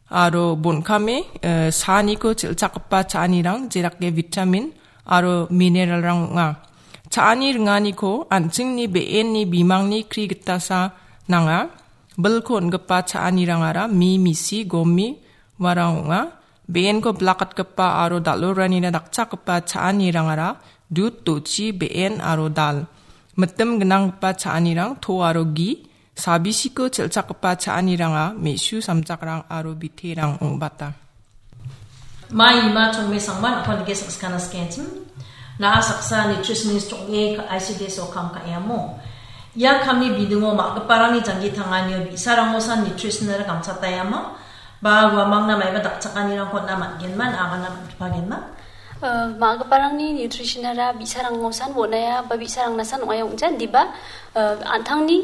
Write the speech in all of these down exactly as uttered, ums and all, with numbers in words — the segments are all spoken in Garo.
aro bon·kame, eh, saaniko chel·chakgipa cha·anirang, jerake vitamin aro mineralrang ong·a. Cha·ani ringaniko an·chingni be·enni bimangni kri gitasa nanga. Bilko on·gipa cha·anirangara mi, misi, gomi, uarang ong·a. Be·enko bilakatgipa aro dal·oranina dakchakgipa cha·anirangara dud, dochi, be·en aro dal. Mitim gnanggipa cha·anirang to aro gi, sabisiko chel·chakgipa cha·aniranga me·su samjakrang aro biterang ong·bata. Mai ima chongme sangma nakon dike sakskana skenchim. Na saksa nutritionist chong e ka I C D S o kam ka emo. Ia kamni bidingo ma·giparangni janggi tanganio bi·sarangosan nutritionara gamchatayama. Ba uamangna maiba dakchakanirangko na man·genman, agana man·gipagenma. Eh, ma·giparangni nutritionara bi·sarangosan wonaya ba bi·sarangnasan ong·aia ong·ja, indiba, eh, an·tangni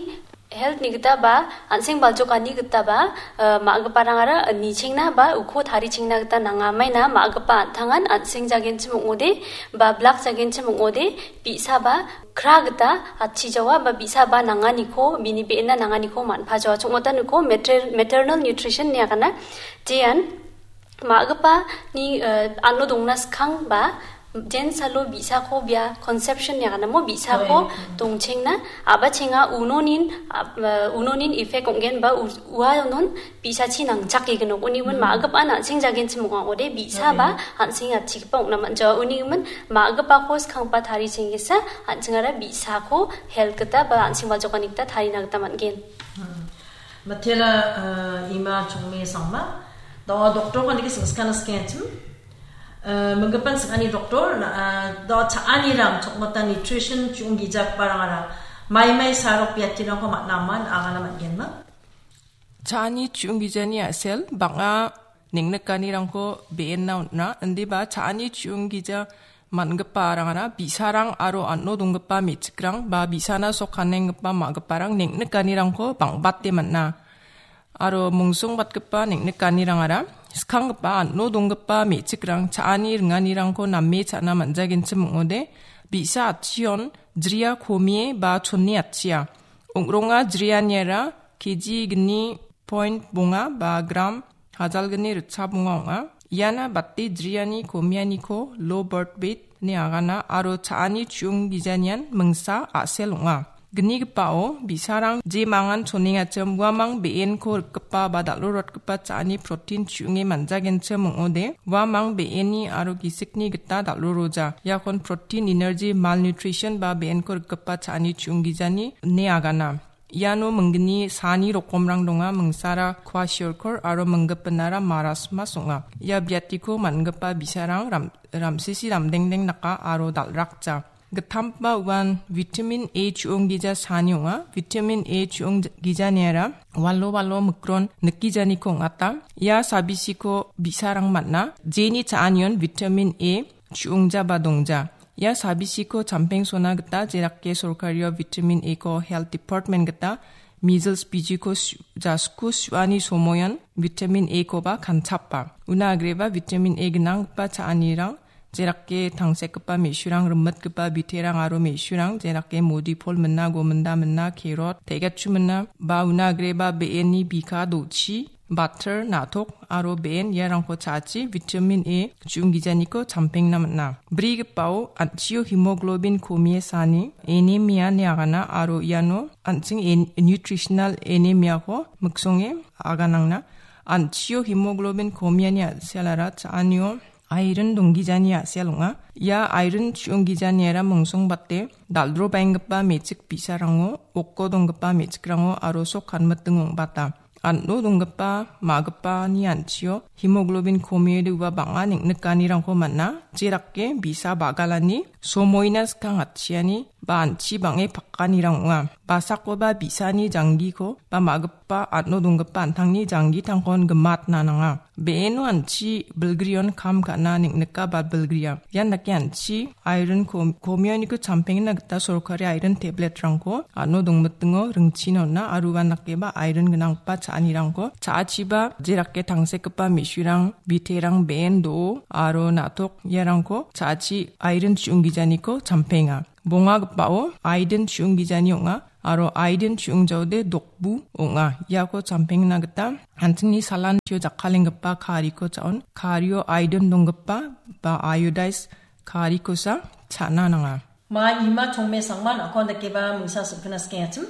health-ni gita ba, an·seng baljokani gita ba, eh, ma·giparangara nichengna ba uko tarichengna gita nanga. Maina ma·gipa an·tangan an·seng jagenchim ong·ode ba blak jagenchim ong·ode bi·sa ba kra gita atchijawa ba bi·sa ba nanganiko, bini be·enna nanganiko man·pajawa. Chongmota niko mater-, maternal nutrition ine agana. Jean ma·gipani, eh, ano dongna skang ba jensalo bi·sako bia conception ine agana mo bi·sako Oi. Dongchengna, a·bachenga unonin, a-, eh, unonin effect ong·gen ba u-, uanon bi·sachi nangchake gnok. Unigimin Mm. ma·gipan an·seng jagenchim ong·a ong·ode bi·sa Oi. ba an·seng atchigipa ong·na man·jawa. Unigimin ma·gipako skanggipa tarichengesa an·chingara bi·sako health gita ba an·seng baljokani gita tarina gita man·gen. Mm. Matela, eh, ima chongme sangma. Do doktor kandike sengskana skenchim. Eh, menggepan sengani doktor, na, eh, do cha·anirang chokmota nutrition chiong gijak barangara. Mai mai sarok biatirangko man·aman, agana man·genma. Cha·ani chiong gijani a·sel, bang·a neng·nikanirangko be·enna on·a. Indiba cha·ani chiong gija man·gipa arangara bi·sarang aro an·o donggipa me·chikrang ba bi·sana sok kanenggipa ma·giparang neng·nikanirangko bang·bate man·a. Aro mongsongbatgipa neng·nikanirangara skanggipa an·o donggipa me·chikrang cha·ani ringanirangko name cha·na man·jagenchim ong·ode, bi·sa atchion jria komie ba chonne atchia. Ong·ronga jrianiara K G gni point bonga ba gram hajalgni ritchap ong·a ong·a. Iana bate jriani komianiko low birth weight ine agana aro cha·ani chiong gijanian mingsa a·sel ong·a. Gnigipao bi·sarang je mangan chonengachim uamang be·enko rikgipa ba dal·rorotgipa cha·ani protein chiong·e man·jagenchim ong·ode, uamang be·eni aro gisikni gita dal·roroja. Iakon protein, energy, malnutrition ba be·enko rikgipa cha·ani chiong gijani ine agana. Iano minggni saani rokomrang donga, mingsara kwashiorkor aro minggipinara marasmas ong·a. Ia biatiko man·gipa bi·sarang ram-, ramsisi ramdengdeng daka aro dal·rakja. Gittamgipa uan vitamin A chiong gija saani ong·a. Vitamin A chiong gijaniara walo walo mikron nikijaniko ong·ata. Ia sabisiko bi·sarang man·a. Jeni cha·anion vitamin A chiongja ba dongja. Ia sabisiko champengsona gita jerake sorkario vitamin A-ko health department gita measles bijiko su-, jasku su·ani somoion vitamin A-koba kanchapa. Una agreba vitamin A gnanggipa cha·anirang, jerake tangsekgipa me·surang, rimitgipa biterang aro me·surang, jerake modi pol mina, gominda mina, kerot, tegatchu mina, ba una agreba be·eni bika dochi, batter, na·tok aro be·en iarangko cha·achi vitamin A chiong gijaniko champengna man·a. Brigipao an·chio hemoglobin komie saani anemia ine agana aro iano an·ching en-, nutritional anemiako miksonge aganangna. An·chio hemoglobin komiani a·selara cha·anio iron donggijani a·sel ong·a. Ia iron chiong gijaniara mongsongbate dal·drobaenggipa me·chik bi·sarango, oko donggipa me·chikrango aro sok kanmitingo ong·bata. An·o donggipa, ma·gipani an·chio hemoglobin komiode ua bang·a neng·nikanirangko man·a, jerake bi·sa bagalani somoina skang atchiani ba an·chi bang·e pakanirang ong·a. Basakoba bi·sani janggiko ba ma·gipa an·o donggipa an·tangni janggitangkon gimatna nanga. Be·eno an·chi bilgrion kam ka·na neng·nika ba bilgria. Ian dake an·chi iron kom-, komioniko champengna gita sorkari iron tabletrangko ano dongmitingo ringchina on·a aro uan dakeba iron gnanggipa cha·anirangko cha·achiba jerake tangsekgipa me·surang, biterang, be·en do·o aro na·tok iarangko cha·achi iron chiong gijaniko champenga. Bongagipao aiden chiong gijani ong·a. aro iodine chu·ongjaode dokbu ong·a. Iako champengna gita an·chingni salantio jakkalenggipa kariko cha·on. Kario iodine donggipa ba iodized karikosa cha·na nanga. Ma ima chongme sangman akon dakeba mingsa sokena skengachim.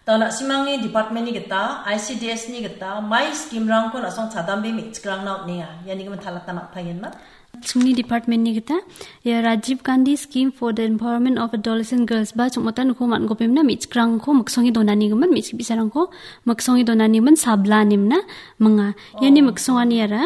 Da na·simangni department-ni gita, I C D S-ni gita, mai scheme-rangko na·song chadambe me·chikrangna on·enga. Iani gimin talata ma·pagenma. Chingni department-ni gita, ia Rajiv Gandhi Scheme for the Empowerment of Adolescent Girls ba chongmotan uko man·gopemna me·chikrangko miksonge donani gimin, me·chik bi·sarangko miksonge donani gimin sabla nimna minga. Iani Oh. miksongani ara,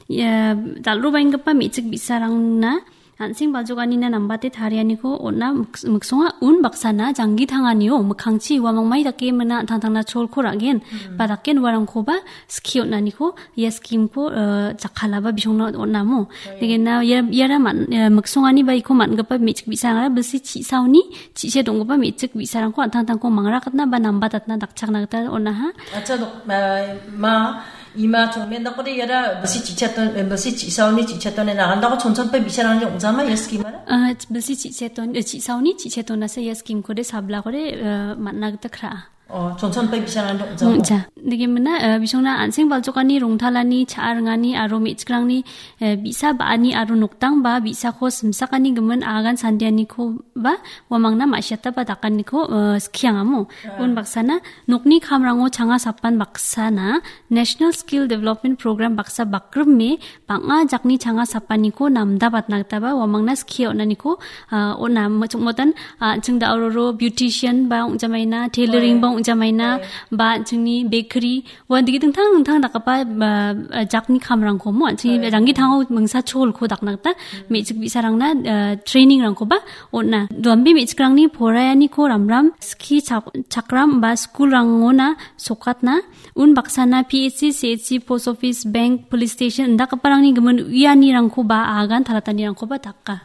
ia dal·robaenggipa me·chik bi·sarangna an·seng baljokanina nambate tarianiko on·a miks-, miksonga un baksana janggi tanganio mikkangchi uamangmai dake mina an·tangtangna cholko ra·gen, Mm. ba daken uarangkoba skie on·aniko ia scheme-ko, eh, jakkalaba bisongna on·amo. Oh, ia. Degena ia, iara man-, eh, miksongani ba iko man·gipa me·chik bi·sarangara bilsi chisaoni, chise donggipa me·chik bi·sarangko an·tangtangko mangrakatna ba nambatatna dakchakna gita on·aha. Acha, dok-, eh, ma, ima chongmen dakode iara bilsi chichaton, eh, bilsi chisaoni chichaton ena andako chonchonpe bi·sarangni ong·jama ia scheme-ara? Ah, bilsi chicheton, eh, chisaoni chichetonasa ia scheme-kode sablakode, eh, man·na gita kra·a. Oh, chonchonpe bi·sarangni ong·jama? Ong·ja. Degimina, eh, bisongna an·seng baljokani rongtalani cha·a ringani aro me·chikrangni, eh, bi·sa ba·ani aro noktang ba bi·sako simsakani gimin agan sandianiko ba uamangna ma·siata ba dakaniko, eh, skiangamo. Ah. Un baksana nokni kamrango changa sapan baksana National Skill Development Program baksa bakrime bang·a jakni changa sapaniko namdabatna gitaba uamangna skie on·aniko, ah, on·a. Mo-, chongmotan, ah, an·ching da·ororo beautician ba ong·jamaina, tailoring Oi. ba ong·jamaina, Oi. ba an·chingni bakery, ua digi dingtang dingtang dakgipa, ba, ah, jakni kamrangko mo, an·chingni Oi. janggi tango mingsa cholko dakna gita Mm. me·chik bi·sarangna, ah, training-rangkoba on·a. Duambe me·chikrangni poraianiko ramram skie chak-, chakram ba school-rangona sokatna, un baksana P H C, C H C, post office, bank, police station indakgiparangni gimin uianirangkoba agan talatanirangkoba daka.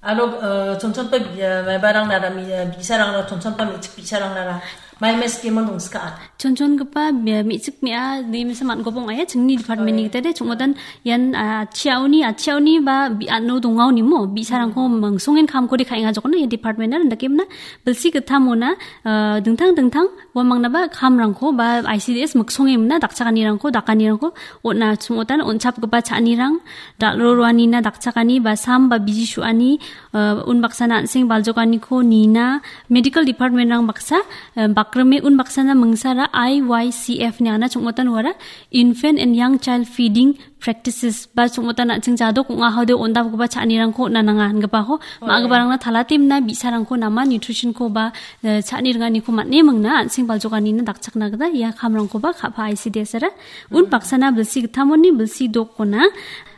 Aro, eh, chonchonpa, eh, maibarang nara, mi-, eh, bi·sarang nara, chonchonpa me·chik bi·sarang nara, mai mai scheme-on dongska. Chonchongipa, eh, me·chik me·a, nimsa man·gopong aia, chingni department-ni Oi. gita de, chongotan ian, ah, chiaoni, ah, chiaoni ba bi-, ano dongaoni mo, bi·sarangko Hmm. mangsongen kamkode ka·enga jokona, ia department-na, indakemna, bilsi gittamona, ah, dingtang dingtang, uamangnaba kamrangko ba I C D S miksongemna dakchakanirangko, dakanirangko on·a, chongotan on·chapgipa cha·anirang, dal·ro roanina dakchakani ba sam ba biji su·ani, ah, unbaksana an·seng baljokaniko nina, medical department-rang baksa, ah, bakrime unbaksana mingsara I Y C F niana chongotan uara infant and young child feeding practices ba chongmotan an·ching jadok ong·a hode ondapgipa cha·anirangko on·a nanga ingipako Oi. ma·giparangna talatemna bi·sarangko nama nutrition-ko ba, eh, cha·ni ringaniko man·e mingna an·seng baljokanina dakchakna gita ia kamrangkoba ka·pa I C D S-ara. Un Mm. baksana bilsi gittamoni bilsi dokona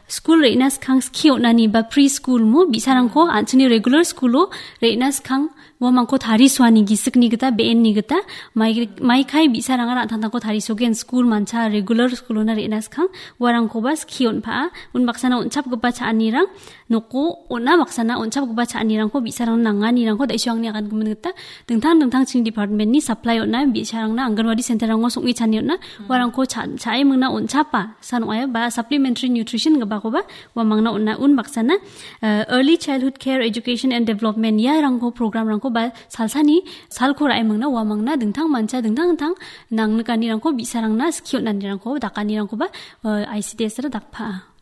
skul re·na skang skie on·ani ba pre-school mo bi·sarangko an·chingni regular school-o re·na skang uamangko tarisoani gisikni gita, be·enni gita, mai-, maikai bi·sarangara an·tangtangko tarisogen skul mancha regular school-ona re·na skang, uarangkoba skie on·pa·a, unbaksana on·chapgipa cha·anirang, noko on·a baksana on·chapgipa cha·anirangko bi·sarangna nanganirangko da·iso angni agangimin gita, dingtang dingtang ching department-ni supply on·a, bi·sarangna Anganwadi center-rango song·e chani on·a, uarangko cha-, cha·e mingna on·chapa, san ong·aia, ba supplementary nutrition gipakoba uamangna on·a, unbaksana, eh, Early Childhood Care Education and Development iarangko program-rangko ba salsani salko ra·e mingna uamangna dingtang mancha dingtang dingtang nangnikanirangko bi·sarangna skie on·anirangko dakanirangkoba, eh, I C D S-ra dakpa·a.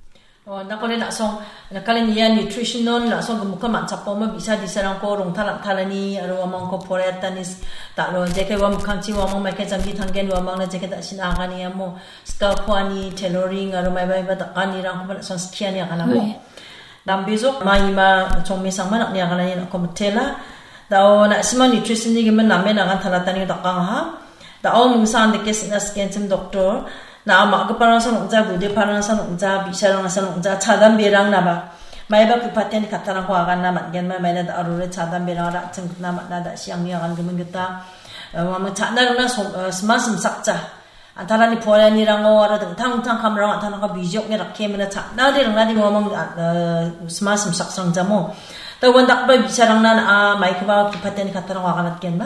Oh, nakoni la·song, nakalen ia nutrition-on la·song gimikon man·chapoma bi·sa di·sarangko rongtal an·talani aro uamangko poraiatani s-, dal·o, jeke uamikangchi uamang maike janggi tanggen uamangna jeke da·sina agani amo. Skalko ani tailoring aro maiba maiba dakanirangkoba la·song skiani aganamo. Oi. Dambejok ma ima chongmesangma nang·ni aganani nang·ko mitela. Da·o na·sima nutrition-ni gimin namen agan talatani dakangaha. Da·o mingsa andake sina sikenchim doktor. Na·a ma·giparangsan ong·ja, gudeparangsan ong·ja, bi·sarangsan ong·ja, chadamberang naba. Maiba ku·patiani kattarangko aganna man·genma, maina da·arore chadamberang ra·ching gitna man·a, da·siangni agan gimin gita. Eh, uamang cha·na rona som-, eh, sima simsakja. An·talani poraianirango aro dingtang dingtang kamrang an·tangko bijokni rakkemina cha·nade ringnade uamang, ah, sima simsaksangjamo. Da uandakgipa bi·sarangna na·a maikoba ku·patiani kattarangko aganatgenba?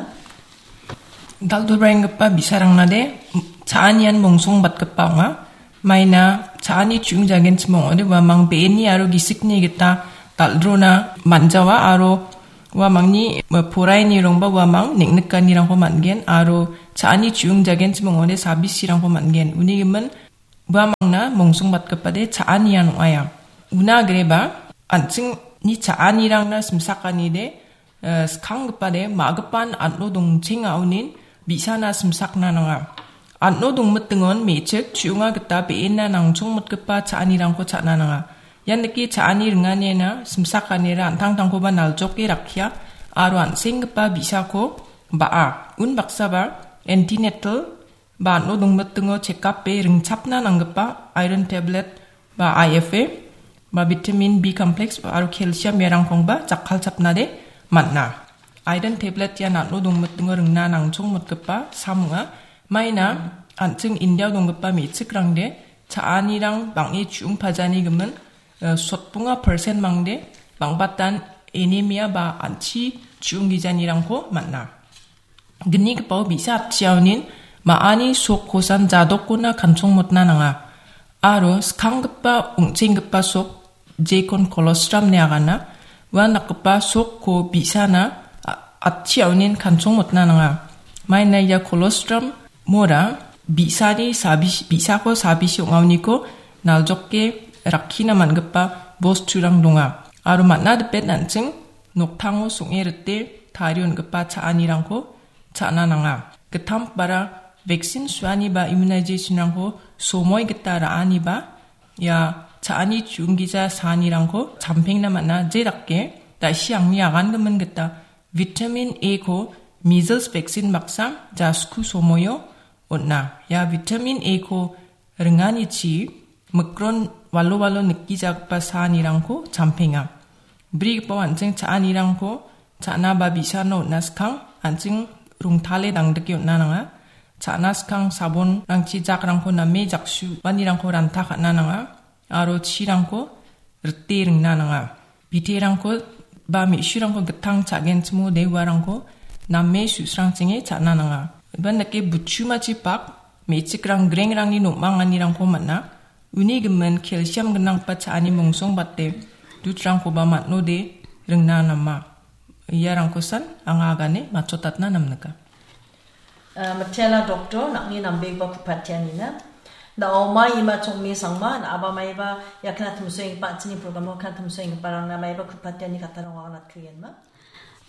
Dal·dalbaenggipa bi·sarangnade cha·anian mongsongbatgipa ong·a. Maina cha·ani chu·ingjagenchim ong·ode uamang be·eni aro gisikni gita dal·drona man·jawa aro Uamangni, eh, porainirangba uamang neng·nikanirangko man·gen aro cha·ani chu·ong jagenchim ong·ode sabisirangko man·gen. Uni gimin uamangna mongsongbatgipade cha·anian ong·aia. Una agreba an·chingni cha·anirangna simsakanide, eh, skanggipade ma·gipan an·o dongchengaonin bi·sana simsakna nanga. An·o dongmitingon me·chik chu·onga gita be·ena nangchongmotgipa cha·anirangko cha·na nanga. Ian dake cha·ani ringaniena simsakanira an·tangtangkoba naljoke rakkia aro an·senggipa bi·sako ba·a. Unbaksaba antenatal ba an·o dongmitingo chekape ringchapna nanggipa iron tablet ba I F A ba vitamin B complex aro calcium iarangkongba jakkalchapnade man·a. Iron tablet ian an·o dongmitingo ringna nangchongmotgipa sam ong·a. Maina an·ching Indiao donggipa me·chikrangde cha·anirang bang·e chu·ong pajani gimin, eh, sotbonga persen mangde bang·batan anemia ba an·chi chu·ong gijanirangko man·a. Gnigipao bi·sa atchiaonin ma·ani sokkosan jadokona kanchongmotna nanga. Aro skanggipa ong·chenggipa sok jekon colostrum ine agana. Ua nakgipa sokko bi·sana a-, atchiaonin kanchongmotna nanga. Maina ia colostrum mora bi·sani sabis-, bi·sako sabisi ong·aoniko naljoke rakkina man·gipa bosturang donga. Aro man·a dipet an·ching noktango song·e rite tarie on·gipa cha·anirangko cha·na nanga. Gittam bara vaccine suani ba immunization-rangko somoi gita ra·ani ba ia cha·ani chu·onggija saanirangko champengna man·a. Jedake da·si angni agangimin gita vitamin A-ko measles vaccine baksa ja sku somoio on·a. Ia vitamin A-ko ringanichi mikron walo walo nikijagipa saanirangko champenga. Brigipao an·ching cha·anirangko cha·na ba bi·sano on·a skang an·ching rongtale dangdike on·na nanga. Cha·na skang sabonrangchi jakrangko name jaksu uanirangko ranta ka·na nanga aro chirangko rite ringna nanga. Biterangko ba me·surangko gittang cha·genchimo de uarangko name su·srangchinge cha·na nanga. Iban dake buchumachi bak me·chikrang grengrangni nom·anganirangko man·a. Uni gimin calcium gnanggipa cha·ani mongsongbate dutrangkoba man·ode ringna nama. Iarangkosan anga agane matchotatna namnika. Ah, mitela doktor, nang·ni nambegipa kupatianina. Na oma ima chongmi sangma, na aba maiba, ia kna tumsoenggipa, an·chingni programo kna tumsoenggiparangna maiba kupatiani katarang wangna tuienma.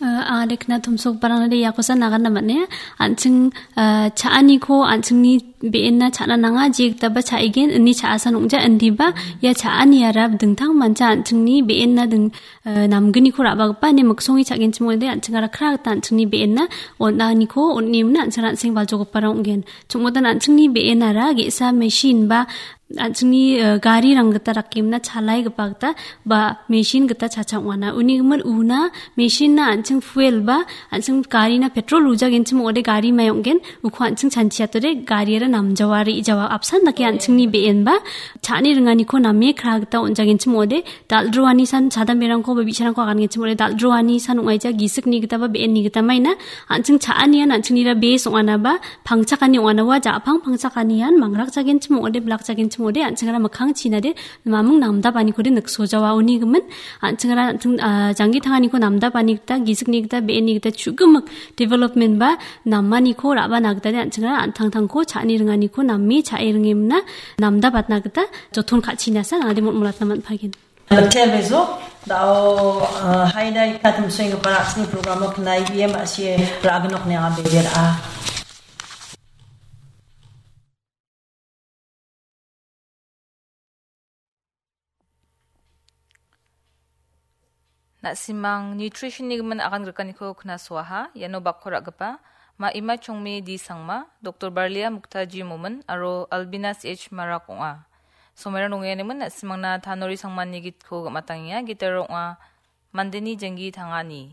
Ah, ade kna tumsoenggiparangna de iakosa nagana mane, an·ching, ah, cha·aniko, an·chingni be·enna cha·na nanga, jigitaba cha·igen, ini cha·asan ong·ja, indiba, ia cha·aniara dingtang mancha an·chingni be·enna ding-, eh, namgniko ra·bagipa ine miksonge cha·genchim ong·ode an·chingara kra gita an·chingni be·enna on·aniko on·emna an·ching an·seng baljogiparang ong·gen. Chongmotan an·chingni be·enara ge·sa machine ba an·chingni, eh, garirang gita rakemna chalaigipa gita ba machine gita chacha ong·ana. Uni gimin una machine-na an·ching fuel ba an·ching garina petrol wujagenchim ong·ode gari mai ong·gen. Uko an·ching chanchiatode gariara namjawa re·ijawa apsan dake an·chingni be·enba cha·ani ringaniko name kra gita on·jagenchim ong·ode dal·droani san chadamberangko ba bi·sarangko agangenchim ong·ode dal·droani san ong·aija gisikni gita ba be·enni gita maina an·ching cha·anian an·chingnira bes ong·ana ba pangchakani ong·ana ua ja·pang pangchakanian mangrakjagenchim ong·ode bilakjagenchim ong·ode an·chingara mikkang chinade maming namdapanikode niksojawa uni gimin an·chingara an·ching, ah, janggi tanganiko namdapani gita gisikni gita be·enni gita chu·gimik development ba namaniko ra·bana gita de an·chingara an·tangtangko cha·ani ringaniko name cha·e ringemna namdapatna gita joton ka·chinasa nangade motmolatna man·pagen. Mitela bejo, da·o, ah, haida ika tumsoenggipa an·chingni programo knai biem a·sie ra·gnok ine anga bebera. Na·simang nutrition-ni gimin agan grikaniko knasoaha, iano bakko ra·gipa Ma Ima Chongmi D Sangma, Doktor Barlia Muktaji Momin aro Albina C H Marak ong·a. Somairang dongenganegimin na·simangna Tanori Sangmani gitko gam·atangenga, gitara ong·a Mandeni Jenggi Tangani.